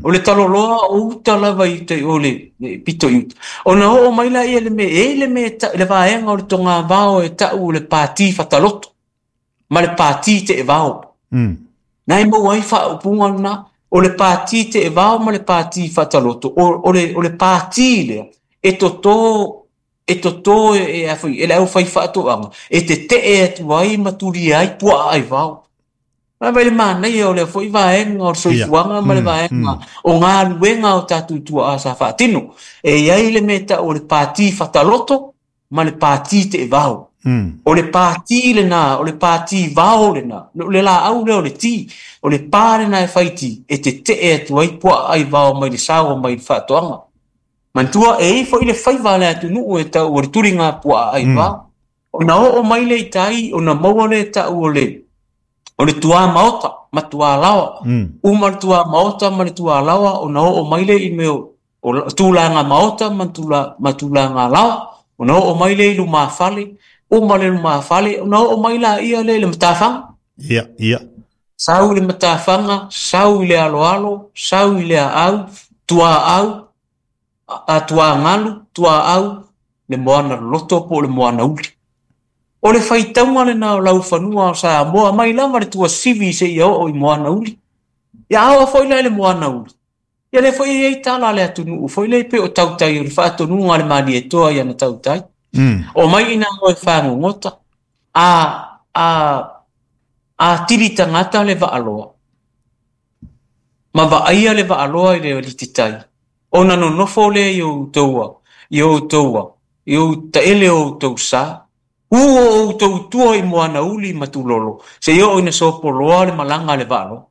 Speaker 2: O le taloloa o uta lava i uta i o le, le pito i uta. Ona oo mai la ia le mea, e i le mea e le vaega o le togavao e tau o le pati fataloto ma le pati teevao. Na e maua ai faaupuga lena, o le pati teevao ma le pati fataloto, o, o, le, o le pati lea, E totō e totō e a foi e le aufaifaatoaga e tete'e atu ai ma tulia ai puaa aivao. Vaai mai le manaia o lea foi vaega o le soifuaga ma le vaega o galuega o tatou tuaa sa faatino. E i ai le mea e tau o le pati fataloto ma le pati teevao. O le pati lena, o le pati vao lena, o le laau lea o le ti, o le pa lena e fai ti, e tetee atu ai puaa aivao mai le sao mai le faatoaga. Manatua, e i ai foi le faiva a le atunuu e tau o le tuliga puaa aivao. Ona oo mai lea i tai, ona maua lea e tau o le o le tuamaota ma tualaoa. Uma le tuamaota ma le tualaoa, ona oo mai lea i mea o tulaga maota ma tulaga laoa. Ona oo mai lea i lumafale, uma le lumafale, ona oo mai laia lea i le matafaga.
Speaker 1: Ia, ia.
Speaker 2: Sau i le matafaga, sau i le aloalo, sau i le aau, tuaau, a tuagalu, tuaau, le moana loloto po o le moana uli. O le faitauga lena o laufanua o Samoa mai lava le tuasivi seia oo i moana uli. Ia a oo foi la i le moana uli, ia lea foi e i ai tala a le atunuu foi lea pei o tautai o le faatonuga a le Malietoa i ana tautai. O mai ina moe fagogota, a tili tagata le vaaloa, ma vaaia le vaaloa i le alititai, ona nonofo lea i outou i outou i ou taele o outou sa, u o outou tua i moana uli ma tulolo, seia oo ina sopoloa le malaga a le vaaloa.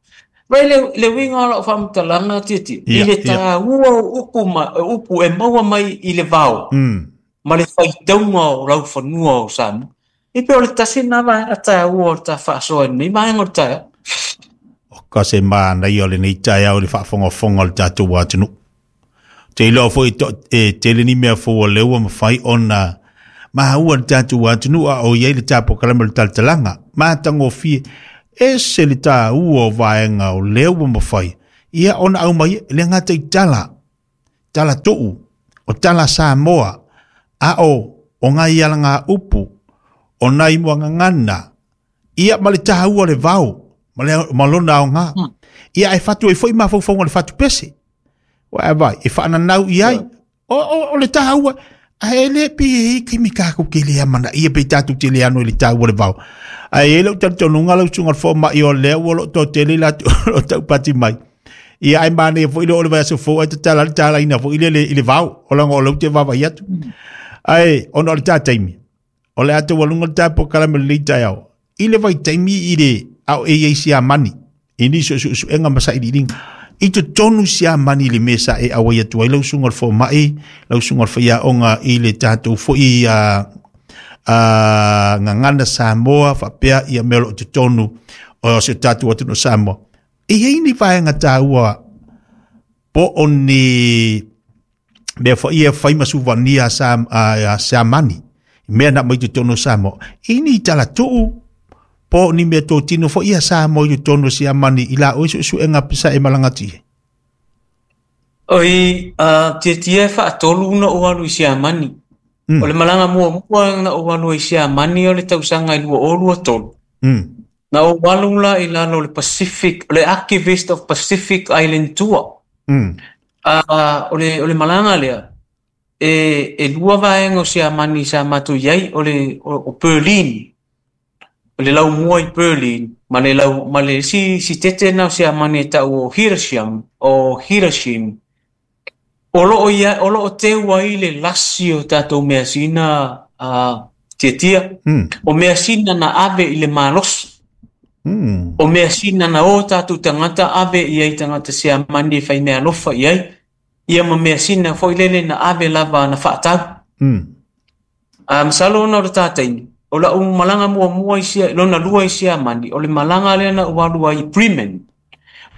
Speaker 2: Vai le uiga o lau faamatalaga Tietie, i le taua o upu, upu e maua mai i le vao, ma le faitauga o laufanua o Samoa. E pei o le tasi lena vaega taua o le ta faasoa i lenei vaega o le taeao.
Speaker 1: O ka se manaia o lenei taeao i le faafogafoga o le tatou atunuu. Te iloa foi e tele ni mea fou o lea ua mafai ona maua le tatou atunuu a o i ai le polokalame o le talatalaga. Matagofie, ese le taua o vaega o lea ua mafai ia ona aumai e le gata i tala, tala tuu, o tala Samoa, a o ngai alaga upu, o nai muagagana, ia ma le taua o le vao, ma lona aoga. Ia e fatu ai foi mafaufauga o le fatu pese. Ua e vai, e whaananau i ai. O le taua, a e le pe e taimi kākou ke lea mana ia pe tātou te lea ano i le taua le vao. A e le utalitonunga lau susuga le fomai o lea ua loo toatele i latou o lo o taupati mai. Ia ai manaia foi le oo le vaiaso fou ai tatala le talaina foi lele i le vao, o laga o lea ou te vaavaai atu. Ae ona o le tā taimi, o le a taualuga le tā polokalame o lenei taeao, i le vaitaimi i le a o e i ai siamani, i nisi o suesuega ma sailiiliga, i totonu siamani i le mea sa e auai atu ai lau susuga o le fomai, lau susuga o le faiaoga i le tatou foi gagana Samoa faapea ia mea o lo o totonu o si o tatou atunuu o Samoa. E i ai ni vaega taua po o ni mea foi e fai ma suvania sa siamani, mea na mai totonu o Samoa, i ni talatuu po o ni mea totino foi ia Samoa i totonu o siamani i la oe suesuega sa e malagati ai?
Speaker 2: Oi, Tietie e faatolu na ou alu i Siamani. O le malaga muamua na ou alu ai i Siamani o le tausaga i 2023. Na ou alu la i lalo o le Pacific, o le Archivist of Pacific Island Tour. O le malaga lea, e lua vaega o Siamani sa matou i ai, o le o Berlin, o le laumua i Berlin, ma le ma le isi sitete na o Siamani e tau o Hiroshima, o Hiroshima. O loo ia, o loo teu ai le lasi o tatou measina Tietia. O measina na ave i le malosi. O measina na o tatou tagata ave i ai tagata Siamani e fai meaalofa i ai. Ia ma measina foi lele na ave lava na faatau. Masalo ona o le tātaimi, o lau malaga muamua i sia, lona lua i Siamani, o le malaga lea na ou alu ai i Bremen.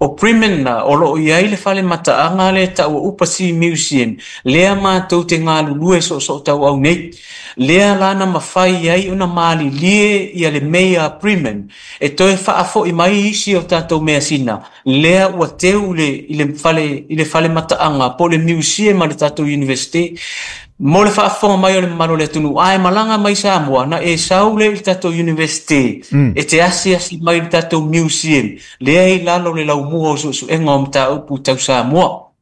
Speaker 2: O Bremen na, o loo i ai le fale mataaga lea e tau o Upasi Museum, lea matou te galulue soosoo tauau nei. Lea la na mafai ai ona malilie ia le Mayor Bremen, e toe faafoi mai isi o tatou measina, lea ua teu i le fale mataaga po o le museum a le tatou university. Mo le faafofoga mai o le mamalu o le atunuu, a e malaga mai Samoa, na e sau lea i le tatou university, e te asiasi mai i le tatou museum, lea i lalo o le laumua o suesuega o mataupu tau Samoa.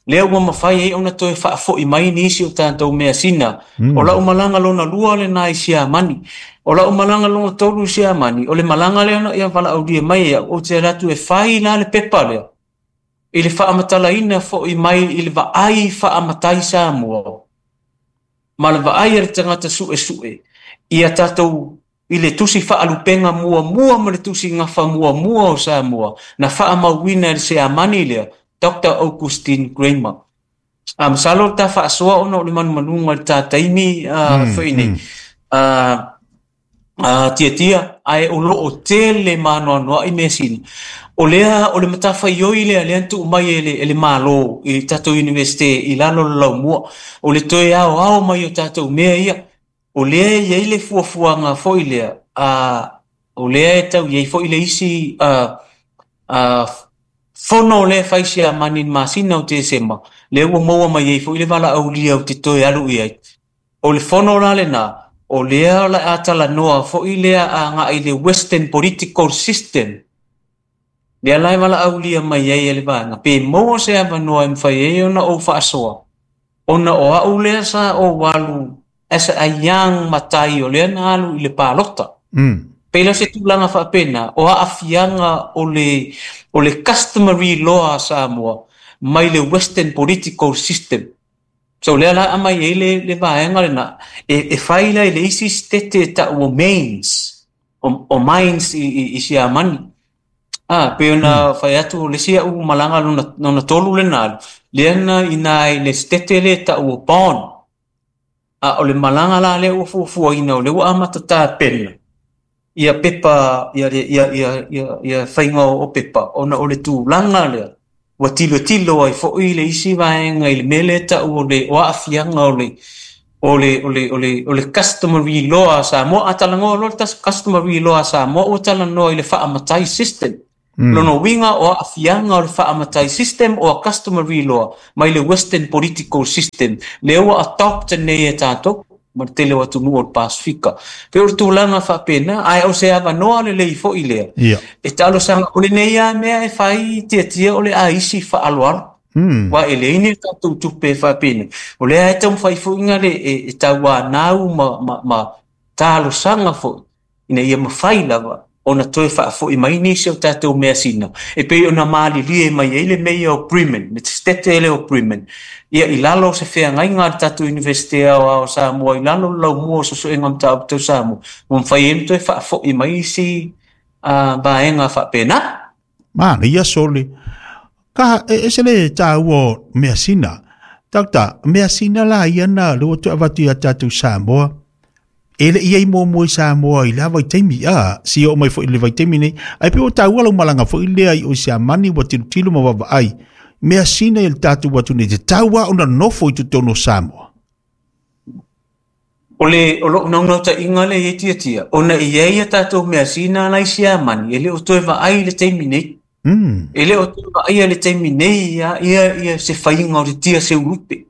Speaker 2: Lea ua mafai ai ona toe faafoi mai nisi o tatou measina. O lau malaga lona lua lena i Siamani. O lau malaga lona tolu i Siamani, o le malaga lea na ia valaaulia mai e au, ou te alu atu e fai la le pepa lea, i le faamatalaina foi mai i le vaai faamatai Samoa, ma le vaai a le tagata suesue ia tatou i le tusi faalupega muamua ma le tusi gafa muamua o Samoa na faamauina e le Siamani lea, Dr. Augustin Kramer. A masalo le ta faasoa ona o le manumanuga i le ta taimi foi nei. Tiatia, ae o loo tele ma anoanoai measina. O lea, o le matafaioi lea, lea na tuu mai e le Malo i le tatou Iunivesite i lalo o le laumua. O le toe aoao mai o tatou mea ia. O lea e i ai le fuafuaga foi lea, o lea e tau i ai foi le isi fono lea e fai Siamani i le masina o Tesema, lea ua maua mai ai foi le valaaulia ou te toe alu i ai. O le fono la lena, o lea o le a talanoa foi lea agai i le Western Political System. Lea la e valaaulia mai ai e le vaega, pe maua se avanoa e mafai ai ona ou faasoa, ona o au lea sa ou alu as a young matai o lea na alu i le palota. Pei la se tulaga faapena, o aafiaga o le customary law a Samoa mai le Western Political System. So lea la aumai ai le vaega lena, e fai la i le isi sitete e tau o Mainz, o Mainz i Siamani. Pei ona fai atu o le isi au malaga lona tolu lena alu, lea na ina i le sitete lea e tau o Bonn. O le malaga la lea ua fuafuaina o lea ua amata tapena ia pepa, ia faiga o pepa, ona o le tulaga lea ua tilotilo ai foi le isi vaega i le mea lea e tau o le o aafiaga o le customary law a Samoa. A talanoa loa le customary law a Samoa, ua talanoa i le faamatai system. Lona uiga o aafiaga o le faamatai system o a customary law mai le Western political system lea ua adopt nei e tatou ma le tele o atunuu o le Pasifika. Pei o le tulaga faapena, ae o se avanoa lelei foi lea. E talosaga, o lenei lava mea e fai tiatia o le aisi faaaloalo. Ua e leai ni tatou tupe faapena. O lea e taumafai foi na le e tauanau ma talosaga foi ina ia mafai lava ona toe faafoi mai nisi o tatou measina. E pei ona malilie mai ai le meia o Bremen, le sitete lea o Bremen. Ia i lalo o se feagaiga a le tatou Iunivesite Aoao o Samoa, i lalo o le laumua o suesuega mataupu tau Samoa, ua mafai ai ona toe faafoi mai isi vaega faapena.
Speaker 1: Manaia sole. Ka e se le taua measina. Doctor, measina la ia na le ua toe avatu ia tatou Samoa. E le ia i muamua i Samoa i la vaitaimi, si o mai foi i le vaitaimi nei. Ai pe o taua lau malaga foi lea i o Siamani ua tilotilo ma vaavaai. Measina i le tatou atunuu te taua ona nofo i totonu o Samoa.
Speaker 2: O le o lou naunautaiga lea i tiatia, ona i ai ia tatou measina la i Siamani, e le o toe vaai i le taimi nei. E le o toe vaai i le taimi nei ia se faiga o le tia seulupe.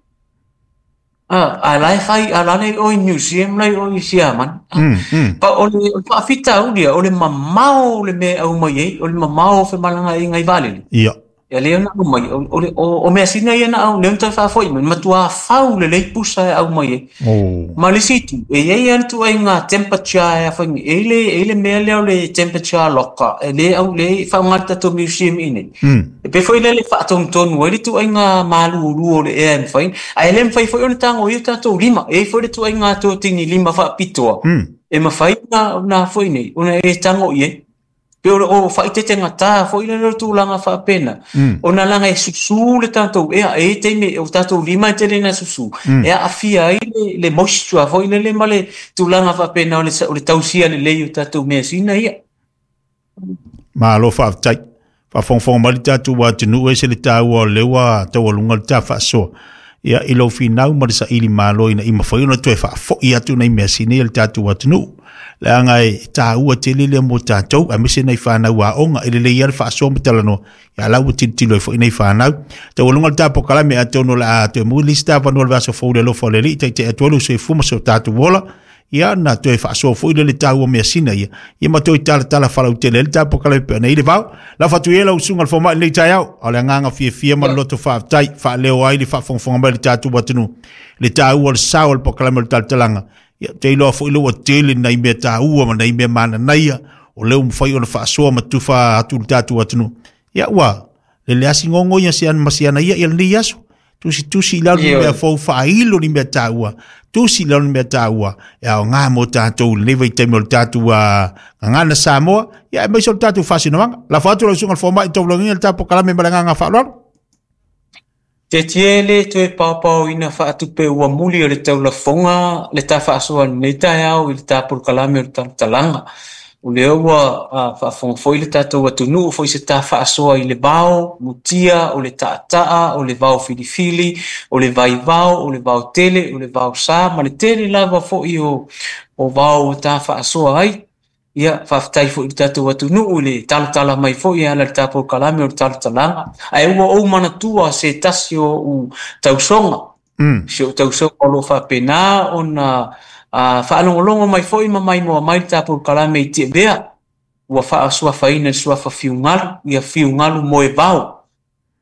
Speaker 2: A la e fai, a la le o i museum la o i Siamani. Pa o le faafitauli o le mamao o le mea au mai ai, o le mamao o femalagaaiga i vaalele.
Speaker 1: Ia.
Speaker 2: Ia lea na au mai, o measina ia na au, lea na toe faafoi mai, matua fau lelei pusa e au mai ai. Ma le isi itu, e i ai lava le ituaiga temperature e afai, e i le mea lea o le temperature locker, e le au le faaaoga le tatou museum i nei. E pei foi lea le faatonutonu ai le ituaiga malulu o le ea e mafai, ae le mafai foi ona tagoia o tatou lima. E i ai foi le ituaiga totini lima faapitoa, e mafai ona foi nei, ona e tago i ai. Pe o faaitetegata foi lea le tulaga faapena. Ona laga e susu le tatou ea, e taimi o tatou lima e tele na susu. E aafia ai le moisture foi lele ma le tulaga faapena o le tausia lelei o tatou measina ia.
Speaker 1: Malo faafetai. Faafogafoga mai le tatou atunuu e se le taua o lea ua taualuga le ta faasoa. Ia i lou finau ma le saili malo ina ia mafai ona toe faafoi atu nai measina ia le tatou atunuu. Leaga e taua tele lea mo tatou, aemaise nai fanau aoga, e lelei lava le faasoa ma talanoa, ia la ua tilotilo ai foi nai fanau. Taualuga le ta polokalame atonu o le a toe maua le isi avanoa o le vaiaso fou i le alofa o le Alii, taitai atu ai lou soifua ma so tatou ola. Ia na toe faasoa foi lea le taua o measina ia, ia ma toe talatala falautele ai le tatou polokalame pei ona i ai le vao. Lafo atu ia lau susuga i le fomai i lenei taeao, a o le agaga fiafia ma le loto faafetai, faaleo ai le faafogafoga mai a le tatou atunuu le taua o le sao o le polokalame o le talatalaga. Ia, ou te iloa foi lea ua tele nai mea taua ma nai mea mananaia o lea ua mafai ona faasoa ma tufa atu i le tatou atunuu. Ia ua lele lava si gogo ia si ana ma si ana ia i lenei aso. Tusitusi i lalo ni mea fou, faailo ni mea taua, tusi i lalo ni mea taua e aoga mo tatou i lenei vaitaimi o le tatou gagana Samoa, ia aemaise o le tatou faasinomaga. Lafo atu lau susuga i le fomai i taulagiga le tatou polokalame ma le agaga faaaloalo.
Speaker 2: Tietie le toe paopaoina faatupe ua muli o le taulafoga le ta faasoa i lenei taeao i le ta polokalame o le talatalaga. O lea ua faafofoga foi le tatou atunuu foi se ta faasoa i le vao mutia, o le taataa, o le vao filifili, o le vaivao, o le vao tele, o le vao sa, ma le tele lava foi o vao ua ta faasoa ai. Ia, faafetai foi i le tatou atunuu i le talatala mai foi e ala i le ta polokalame o le talatalaga. Ae ua ou manatua se tasi o ou tausoga, si ou tausoga o lo o faapena ona faalogologo mai foi ma maimoa mai le ta polokalame i Tiavea, ua faasuafaina i le suafa Fiugalu, ia Fiugalu Moevao.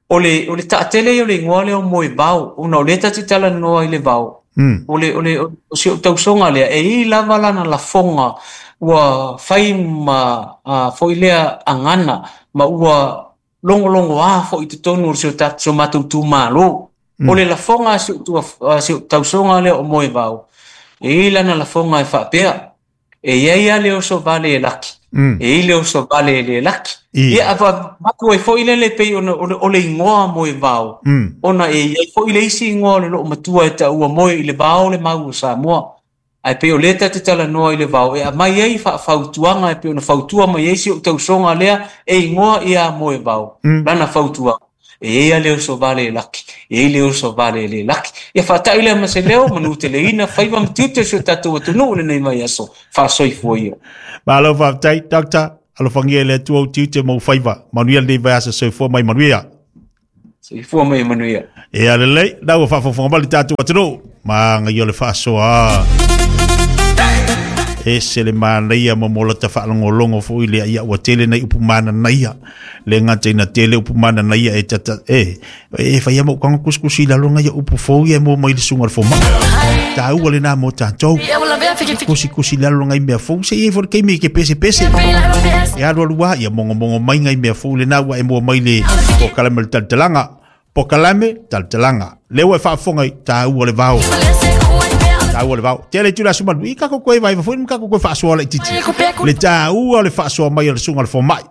Speaker 2: O le, o le taatele ia o le igoa lea o Moevao, ona o lea ta te talanoa i le vao, o le, o le, o si ou tausoga lea, e i ai lava lana lafoga ua fai ma foi lea agana ma ua logologoa foi i totonu o si o matou itumalo. O le lafoga a si ou tausoga lea o Moevao, e i ai lana lafoga e faapea, e i ai lava le oso vale e laki, e i ai le oso vale e le laki. Ia, avatu ai foi lele pei ona o le igoa Moevao, ona e i ai foi le isi igoa o le loomatua e taua moe i le vao le mau o Samoa. Ae pei o lea ta te talanoa i le vao e aumai ai faafautuaga e pei ona fautua mai ai si ou tausoga lea e igoa ia Moevao, lana fautuaga, e i ai lava le oso vale e laki, e i ai le oso vale e le laki. Ia faatai lea ma se leo, manuteleina faiva ma tiute o si o tatou atunuu i lenei vaiaso, faasoifua ia.
Speaker 1: Malo faafetai, Doctor. Alofagia e le Atua ou tiute ma ou faiva. Manuia lenei vaiaso, soifua mai manuia.
Speaker 2: Soifua mai manuia.
Speaker 1: Ia lelei, na ua faafofoga mai le tatou atunuu. Manaia o le faasoa. Ese le manaia ma mo lata faalogologo foi lea ia ua tele nai upu mananaia. Le gata ina tele upu mananaia e tata e e faia mo kanga kusikusi i lalo ngai upu fou ia mo mai le susuga i le fomai. Taua lena mo tatou. Kusikusi i lalo ngai mea fou se i ai foi le taimi e ke pese pese. E alu alu lava ia mongomongo mai ngai mea fou lena ua e mua mai le polokalame o le talatalaga. Polokalame talatalaga. Lea ua e faafofoga i taua o le vao. Taua o le vao. Tele itula aso malu. I kako koe vai foi ma kako koe faasoa laitiiti. Le taua o le faasoa mai o le susuga i le fomai.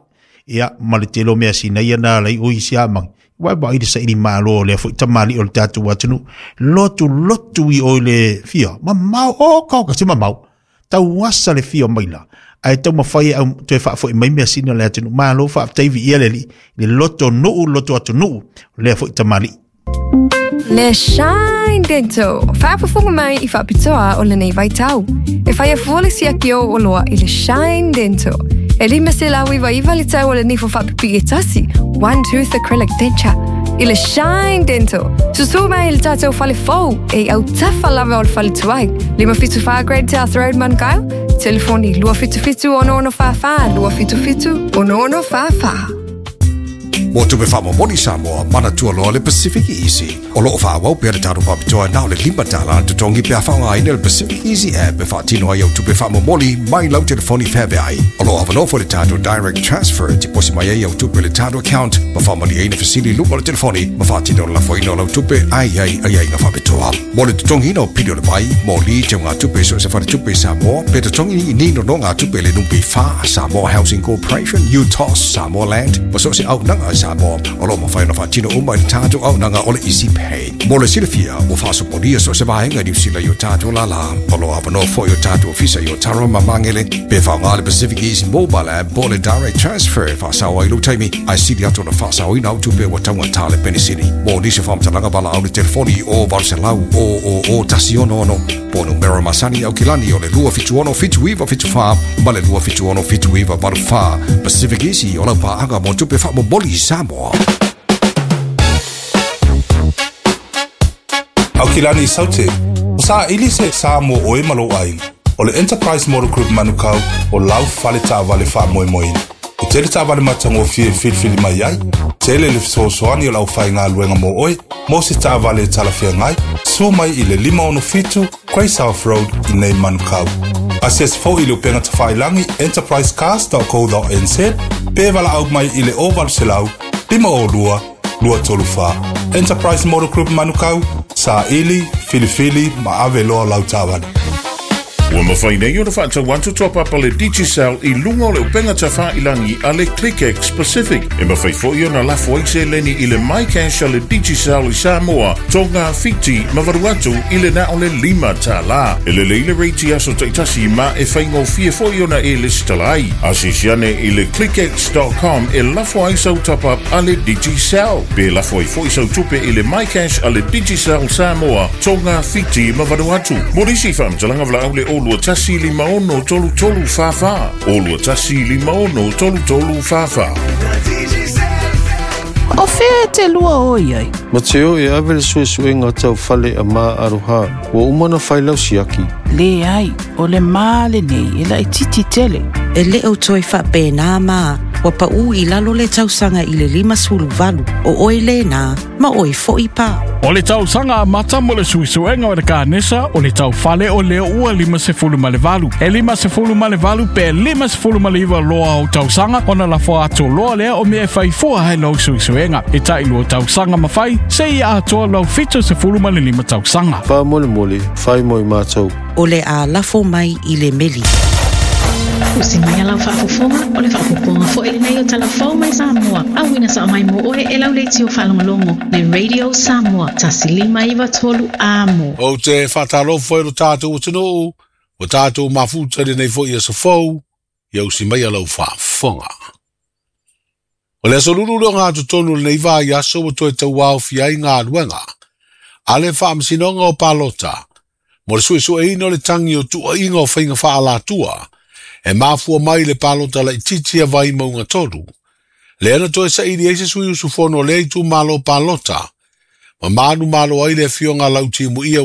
Speaker 1: Ia, ma le tele o mea sina ia na alai o isi a mangi. Wai wai le saili malo o lea foi tamali'i o le tatou atunuu. Lotu lotu i o i le fia. Mamao, o kao ka se mamao. Tauasa le fia maila. Ae taumafai e au toe faafoi mai measina o le atunuu. Malo faafetai viia le Alii i le loto nuu, loto atunuu o lea foi tamalii.
Speaker 3: Le Shine Dental, faafofoga mai i faapitoa o lenei vaitau. E fai afua le siaki o oloa i le Shine Dental. E 599 le tau o le nifo faapipii e tasi, one tooth acrylic denture. I le Shine Dental, susū mai i le tātou fale fou e i autafa lava o le fale tuai. 574 Great South Road, Manukau. Telefoni 277 6644 277 6644.
Speaker 4: Mo tupe faamomoli Samoa, manatua loa le Pacific Easy. O lo o faaauau pea le tatou faapitoa na o le $5 le totogi pe a faaaogaina le Pacific Easy app e faatino ai au tupe faamomoli mai lau telefoni feaveai. O lo o avanoa foi le tatou Direct Transfer e tiposi mai ai au tupe i le tatou account ma faamalieina fesili i luma o le telefoni ma faatino le lafoina o lau tupe a i ai aiaiga faapitoa. Mo le totogiina o pili o le vai, moli, teugatupe i so o se faletupe i Samoa, pe totogi i ni nonogatupe i le NPF, Samoa Housing Corporation, UTOS, Samoa Land, ma so o se auaunaga a Samoa, o lo o mafai ona faatino uma i le tatou auaunaga o le Easy Pay. Mo le silafia, ua faasopolia so o se vaega i Niu Sila i o tatou lālā. O lo o avanoa foi o tatou ofisa i Otara ma Magele, pe faaaoga le Pacific Easy Mobile App po o le Direct Transfer e faasao ai lou taimi, ae sili atu ona faasaoina au tupe ua taugata le penisini. Mo nisi o faamatalaga valaau le telefoni i o 800 000 166 po o numera masani Aukilani o le 276 7974 ma le 276 7984. Pacific Easy o lau paaga mo tupe faamomoli i Samoa.
Speaker 5: Aukilani Saute, ua saili se sa mo ʻoe ma lou ʻaiga. O le Enterprise Motor Group Manukau o lau fale taavale faamoemoeina. E tele taavale matagofie e filifili mai ai, tele le fesoasoani o le aufaigaluega mo oe, mo se taavale e talafeagai, susu mai i le 567 Grey South Road i nei Manukau. Asiasi foi i le upega tafailagi enterprisecars.co.nz pe valaau mai i le 0800 502 234. Enterprise Motor Group Manukau, saili, filifili ma ave loa lau taavale.
Speaker 6: Ua mafai nei ona faatau atu top-up a le Digicel i luga o le upega tafailagi a le ClickX Pacific. E mafai foi ona lafo ai seleni i le MyCash a le Digicel i Samoa, Tonga, Fiti ma Vanuatu i le na o le $5. E lelei le rate i aso taitasi ma e faigofie foi ona e lesitala ai. Asiasi ane i le clickx.com e lafo ai sau top-up a le Digicel. Pe lafo ai foi sau tupe i le MyCash a le Digicel Samoa, Tonga, Fiti ma Vanuatu. Mo nisi faamatalaga valaau le 021 56 33 44. 021 56 33 44.
Speaker 7: O fea e te lua o i ai?
Speaker 8: Ma te o e ave le suesuega tau fale a ma aroha. Ua uma ona fai lau siaki.
Speaker 7: Leai, o le ma lenei e laitiiti tele.
Speaker 9: E le o toe faapena ma, ua paʻū i lalo le tausaga i le 58, o oe lena, ma oe foi pa.
Speaker 10: O le tausaga amata mo le suesuega o le kanesa o le taufale o lea ua 58. E 58 pe 59 loa o tausaga ona lafo atu loa lea o mea e fai fua ai lau suesuega. E tailua tausaga ma fai, seia atoa lau 75 tausaga.
Speaker 8: Faamolemole, fai mo i matou.
Speaker 9: O le a lafo mai i le meli.
Speaker 11: Usi mai a lau faafofoga, o le faaopoopoga foi lenei o tala fou mai Samoa, auina sao mai mo oe e lau leitio faalogologo, le Radio Samoa, 1593 amo.
Speaker 12: Ou te faatalofa i lo tatou atunuu, ua tatou mafuta i lenei foi aso fou, ia usi mai lau faafofoga. O le aso lulu lea o gatotonu o lenei vaiaso ua toe tauaofia ai galuega a le Faamasinoga o Palota mo le suesueina o le tagi o tuuaiga o faiga faaalatua e mafua mai i le palota laitiiti a Vaimauga 3, lea na toe saili ai se sui usufono o lea itumalo palota ma manumalo ai le afioga a Lautimuia.